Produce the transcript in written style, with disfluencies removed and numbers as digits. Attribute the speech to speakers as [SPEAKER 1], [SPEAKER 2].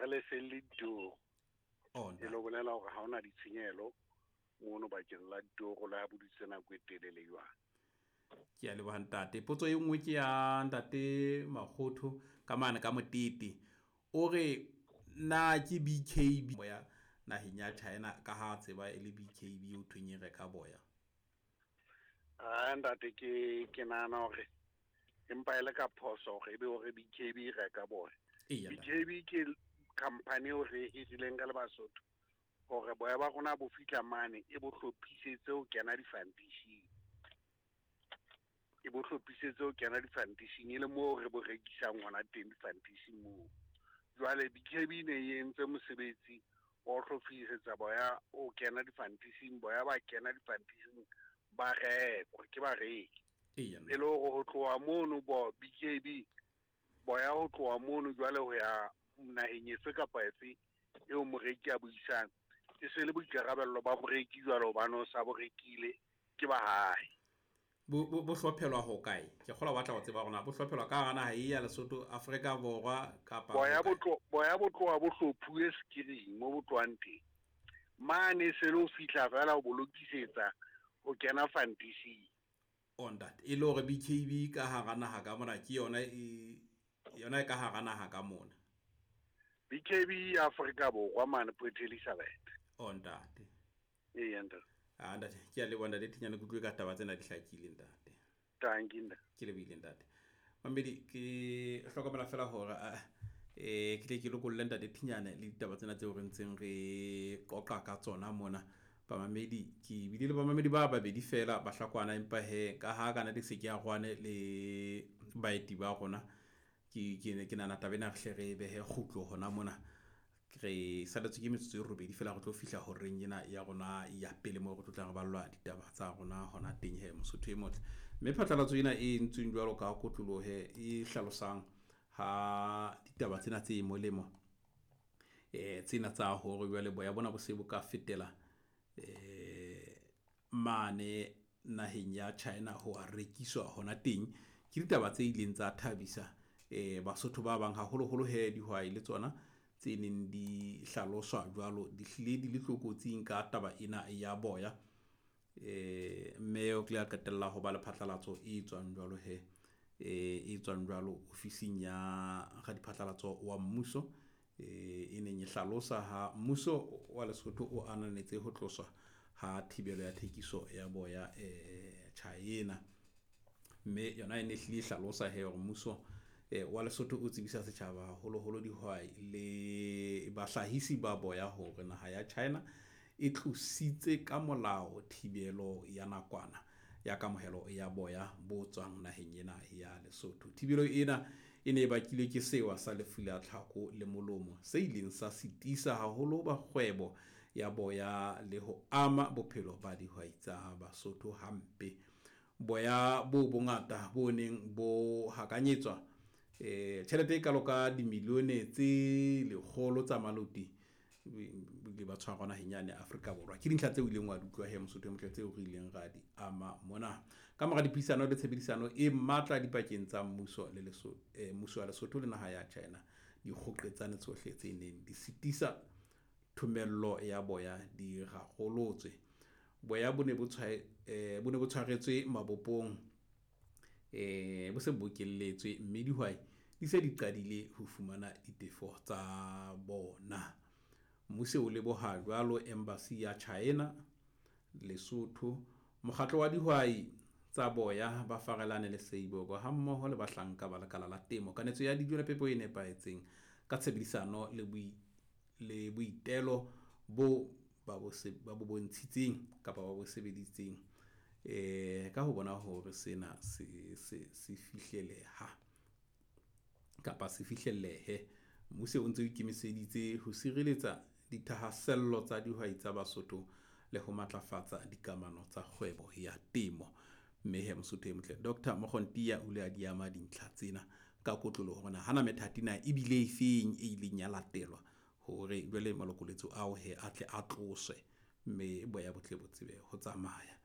[SPEAKER 1] Ha re lefelle ditoro.
[SPEAKER 2] Oh,
[SPEAKER 1] E lo bolela hore ha hona ditshenyehelo mono bakeng la ditoro le ha bo dutse nako e telele jwang.
[SPEAKER 2] Ke a leboha ntate. Potso e nngwe ke ya ntate Makgotho ka mane ka Motete. O re na ke BKB boya naheng ya China ka ha tseba e le BKB o thweng e reka boya.
[SPEAKER 1] Ah, ntate, ke nahana hore empa e le ka phoso hore ebe hore BKB e reka boya.
[SPEAKER 2] Eya, ntate.
[SPEAKER 1] BKB ke company eo re e hirileng ka le Basotho hore boya ba rona bo fihla mane e bo hlophisetse ho kena difantishing. E bo hlophisetse ho kena difantishing e le moo re bo rekisang hona teng difantishing moo. Jwale BKB ne e entse mosebetsi wa ho hlophisetsa boya o kena difantishing, boya ba kena difantishing ba rekwa ke bareki.
[SPEAKER 2] Eya,
[SPEAKER 1] E le hore ho tloha mono bo BKB boya ho tloha mono jwale ho ya naheng efe kapa efe eo moreki a buisang, e se le boikarabello ba moreki jwale hobane o sa bo rekile ke ba hae.
[SPEAKER 2] Bo hlophelwa ho kae? Ke kgolwa ba tla ho tseba hore na bo hlophelwa ka hara naha e ya Lesotho, Afrika Borwa kapa
[SPEAKER 1] Boya
[SPEAKER 2] ho
[SPEAKER 1] bo
[SPEAKER 2] kae?
[SPEAKER 1] boya bo tloha bo hlophuwe skiring mo bo tlohang teng. Mane se le ho fihla feela ho bo lokisetsa ho kena fantising.
[SPEAKER 2] Oh, ntate, e le hore BKB ka hara naha ka mona ke yona e yona e ka hara naha ka mona.
[SPEAKER 1] BKB ya Afrika Borwa mane Port Elizabeth.
[SPEAKER 2] Oh, ntate.
[SPEAKER 1] Eya, ntate.
[SPEAKER 2] Ah, ntate, ke a leboha ntate Thinyane, ke utlwe ka taba tsena di hlakile ntate.
[SPEAKER 1] Thank you, ntate.
[SPEAKER 2] Ke lebohile ntate. Mamedi, ke hlokomela fela hore ke tle ke lokolle ntate Thinyane le ditaba tsena tseo re ntseng re qoqa ka tsona mona. Bamamedi, ke bile le bamamedi ba babedi fela ba hlakwana, empa he ka ha kana di se ke arohane le baeti ba rona, ke nahana taba ena re hle re behe kgutlo hona mona. Re saletswe ke metsotso e robedi fela re tlo fihla horeng ena ya rona ya pele moo re tlo tla re ballwa ditaba tsa rona hona teng he Mosotho e motle. Mme phatlalatso ena e entsweng jwalo ka kotloloho e hlalosang ha ditaba tsena tse molemo, tsena tsa hore jwale boya bona bo se bo ka fetela mane naheng ya China ho a rekiswa hona teng. Ke ditaba tse ileng tsa thabisa Basotho ba bang haholoholo he dihwai le tsona tse neng di hlaloswa jwalo di hlile di le tlokotsing ka taba ena ya boya. Mme o tle a qetella ho ba le phatlalatso e tswang jwalo he, e tswang jwalo ofising ya radiphatlalatso wa mmuso, e neng e hlalosa ha mmuso wa Lesotho o ananetse ho tloswa ha thibelo ya thekiso ya boya China. Mme yona e ne hlile e hlalosa he hore mmuso wa Lesotho o tsebisa setjhaba haholoholo dihwai le bahlahisi ba boya hore naha ya China e tlositse ka molao thibelo ya nakwana ya kamohelo ya boya bo tswang naheng ena ya Lesotho. Thibelo ena e ne e bakilwe ke sewa sa lefu la tlhako le molomo se ileng sa sitisa haholo ba kgwebo ya boya le ho ama bophelo ba dihwai tsa Basotho hampe. Boya bo bongata bo neng bo hakanyetswa tjhelete e kalo ka dimilione tse 100 tsa maloti le ba tshwarwa naheng yane Afrika Borwa. Ke dintlha tseo ileng wa di utlwa he Mosotho e motle tseo re ileng ra di ama mona. Ka mora dipuisano le tshebedisano e matla dipakeng tsa mmuso le Lesotho, mmuso wa Lesotho le naha ya China, dikgoqetsane tsohle tse neng di sitisa thomello ya boya di rarolotswe. Boya bo ne bo bo ne bo tshwaretswe mabopong, bo se bokelletswe mme dihwai di se di qadile ho fumana ditefo tsa bona. Mmuso o leboha jwalo Embassy ya China Lesotho, mokgatlo wa dihwai tsa boya ba Farelane le Seiboko hammoho le bahlanka ba lekala la temo, kanetso ya dijo le phepo e nepahetseng ka tshebedisano le boitelo bo ba bo bontshitseng kapa ba bo sebeditseng ka ho bona hore sena se fihleleha kapa se fihlellehe. Mmuso o ntse o ikemiseditse ho sireletsa dithahasello tsa dihwai tsa Basotho le ho matlafatsa dikamano tsa kgwebo ya temo. Mme he Mosotho e motle, Dr. Mokgontiya o ile a di ama dintlha tsena ka kotloloho hore na hana methati na ebile efeng e ileng ya latelwa hore jwale malokoletso ao he a tle a tloswe mme boya bo tle bo tsebe ho tsamaya.